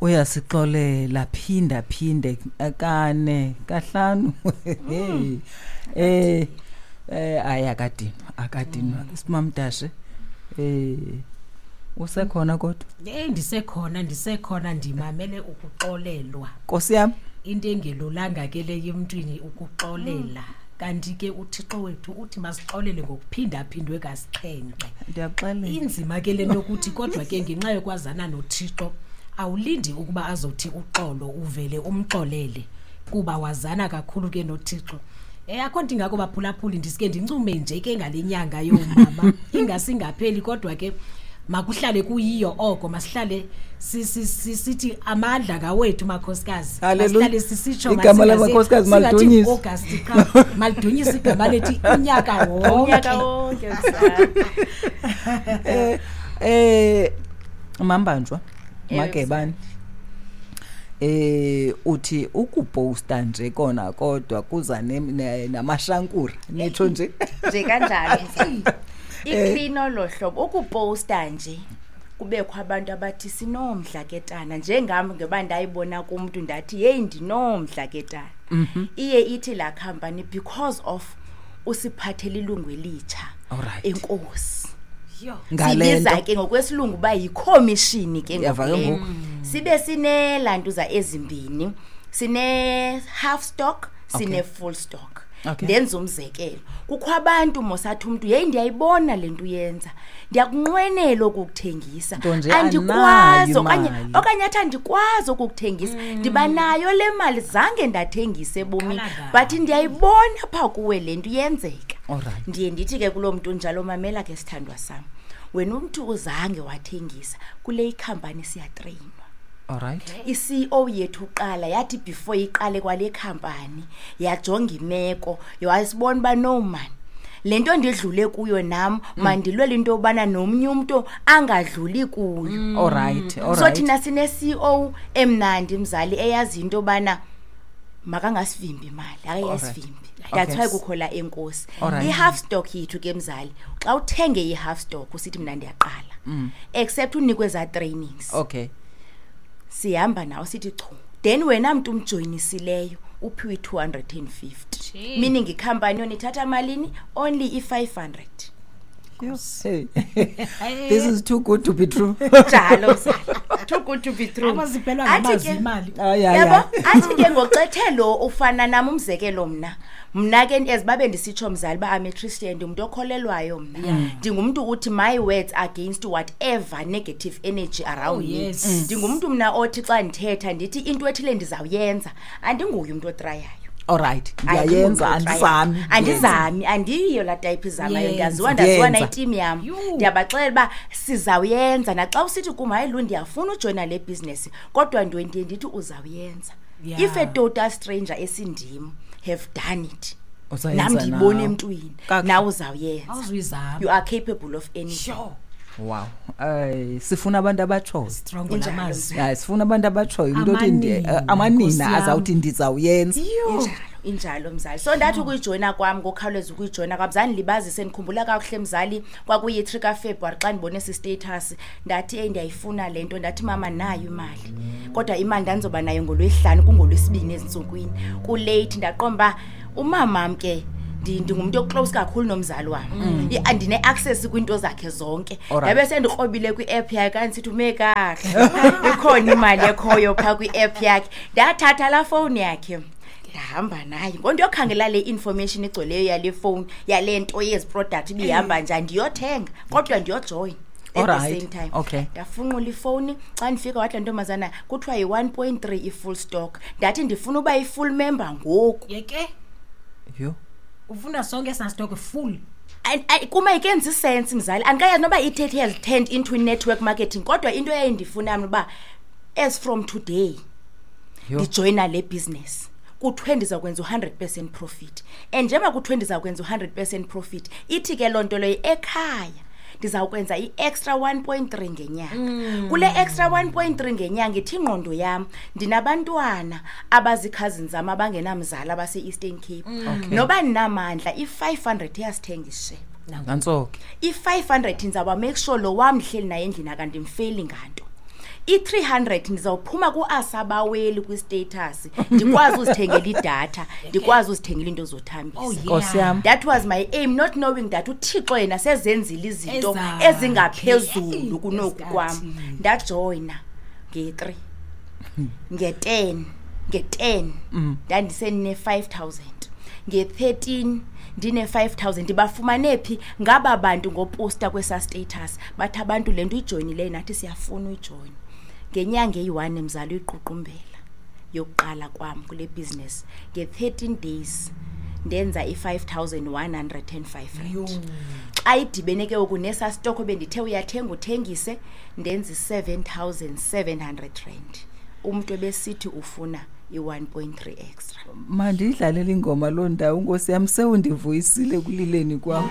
Uyasixolela phinda phinde kane kahlanu. Hey. Ayi akadinwa simamdashe. Usekhona kodwa? Ndisekhona ndimamele ukuxolelwa. Nkosi yami, into engelulanga ke le emntwini ukuxolela. Kanti ke uThixo wethu uthi masixolele ngokuphinda phindwe kasixhenxe. Ndiyaxelela. Inzima ke le nto ukuthi kodwa ke ngenxa yokwazana noThixo awulindi ukuba azothi uxolo uvele umxolele kuba wazana kakhulu ke noThixo. Akho nto ingako baphulaphuli, ndisike ndincume nje ke ngale nyanga yoomama ingasingapheli, kodwa ke makuhlale kuyiyo oko, masihlale sithi amandla ngawethu makhosikazi. Hallelujah. Masihlale sisitsho, Igama lamakhosikazi singathi malidunyiswe. August qha, malidunyiswe igama lethu unyaka wonke. Unyaka wonke, mzala. Mambanjwa, Ewe, Magebane. Uthi ukuposta nje kona kodwa kuza namashankura, nitsho nje. Nje kanjalo, mzala. Iclean olo hlobo ukuposta nje kubekho abantu abathi sinomdla ke tana, njengam ngoba ndayibona kumntu ndathi hey ndinomdla ke tana. Iye ithi la company because of usiphathele ilungu elitsha. Enkosi. Yho. Ngale Sibiza nto. ke ngokwesilungu uba yikhomishini ke Ndiyava ke ngoku le. ngoku. Sibe sineelantuza ezimbini, sine half stock, sine full stock. Ndenza umzekelo, kukho abantu mosathi umntu hey ndiyayibona le nto uyenza, ndiyakunqwenela ukukuthengisa, Nto nje andikwazi anayo imali. okanye athi andikwazi ukukuthengisa, ndiba nayo le mali, zange ndathengisa ebomini, Qala ngayo. but ndiyayibona pha kuwe le nto iyenzeka. Ndiye ndithi ke kuloo mntu njalo, mamela ke sithandwa sam, wena umntu uzange wathengisa, kule ikhampani siyatreyinwa. I-CEO yethu uqala yathi before iqale kwale khampani yajonga imeko, yasibona uba no man, le nto ndidlule kuyo nam, mandilwele into yobana nomnye umntu angadluli kuyo. So thina sine-CEO emnandi mzali eyazi into yobana makangasivimbi imali, akayasivimbi. That's why kukho la enkosi. I-half stock yethu ke mzali, xa uthenge i-half stock usithi mna ndiyaqala. Except unikwe za trainings. Sihamba nawe sithi chu. Then wena mntu umjoyinisileyo uphiwe 250. Gee. Meaning ikhampani yona ithatha malini? Only i-500. Hey. This is too good to be true. Njalo mzali. Too good to be true. Abaziphelwa Athi ngamazwi ke imali. Ay, ay, Yabo? ay. Athi ke ngoxethe lo ufana nam umzekelo mna. Mna ke as babe ndisitsho mzali ba I'm a Christian, ndingumntu okholelwayo mna. Ndingumntu uthi my words against whatever negative energy around Oh, me. yes. Ndingumntu mna othi xa ndithetha ndithi into ethile ndizawuyenza. Andinguye umntu otrayayo. All right. Hayi, Ndiyayenza, ndingumntu otrayayo. andizami. Andizami, andiyiyo laa type izamayo. Yenza. Ndiyaziwa, ndaziwa Yenza. nayitim yam. Yhu. Ndiyabaxelela uba sizawuyenza. Naxa usithi kum, hayi Lu, ndiyafuna ujoyina le business, kodwa ndiye ndithi uzawuyenza. If a total stranger esindim have done it, Uzayenza nam ndiyibona nawe. emntwini, Kakuhle. nawe uzawuyenza. Awuzuyizama. You are capable of anything. Sure. Wow. Ay, sifuna abantu abatshoyo. Strong Injalo. lamazwi. Hayi, sifuna abantu abatshoyo. Umuntu othi Amanina, amanina Nkosi yam. azawuthi ndizawuyenza. Injalo, injalo mzali. So ndathi ukuyijoyina kwam, ngokukhawuleza ukuyijoyina kwam, zandilibazise, ndikhumbula kakuhle mzali, kwakuyi-3 kaFebruwari xa ndibone esi status, ndathi eyi ndiyayifuna le nto, ndathi mama nayo imali. Kodwa imali ndandizoba nayo ngolwesihlanu, kungolwesibini ezintsukwini. Kulate ndaqonda uba umamam ke ndingumntu oclose kakhulu nomzali wam. Andine-access kwiinto zakhe zonke. Ndabe sendikrobile kwi-app yakhe, kanti sithi ume kakuhle. Ikhona imali ekhoyo phaa kwi-app yakhe. Ndathatha laa fowuni yakhe, ndahamba naye. Ngoku ndiyokhangela le information igcweleyo yale fowuni, yale nto yezi product ibihamba njani, ndiyothenga kodwa ndiyojoyina at the same time. Ndafunqula ifowuni, xa ndifika wathi laa ntombazana kuthiwa yi-1.3 i-full stock. Ndathi ndifuna uba yi-full member ngoku. Yeke? Yho. Ufuna sonke esaa stock full? Kuma ikenzi sense mzali. Andikayazi noba ithethe has turned into network marketing, kodwa into eyayindifuna mna uba as from today Yho. ndijoyina le business. Kuthiwe ndizawukwenza u-100% profit. And njengoba kuthiwe ndizawukwenza u-100% profit, ithi ke loo nto leyo ekhaya ndizawukwenza i-extra 1.3 ngenyanga. Kule extra 1.3 ngenyanga ithi ingqondo yam ndinabantwana abazikhazini zam abangenamzali abase-Eastern Cape. Noba ndinamandla, i-500 iyasithenga isishebo. Nantso ke. I-500 ndizawuba make sure lo wam ndihleli naye endlini akandimfeli nganto. I-300 ndizawuphuma kuasabaweli kwi-status, ndikwazi uzithengela idatha, ndikwazi uzithengela into zothambisa. Oh, yeah. Nkosi yam. That was my aim, not knowing that uThixo yena sezenzile izinto Ezakhe. ezingaphezulu kunoku kwam. Ezikathixo. Ndajoyina nge-3, nge-10, nge-10 ndandisene-5000, nge-13 ndine-5000. Ndibafumane phi ngaba bantu? Ngoposta kwesa status, bathi abantu le nto uyijoyinileyo nathi siyafuna uyijoyina. Ngenyanga eyi-1, mzali, uyiququmbela yokuqala kwam kule business, nge-13 days ndenza i-5105 rand. Xa idibene ke ngoku nesa stoko bendithe uyathenga uthengise, ndenza i-7700 rand. Umntu ebesithi ufuna i-1.3 extra. Mandiyidlalele ingoma loo ndawo, nkosi yam, sewundivuyisile ekulileni kwam.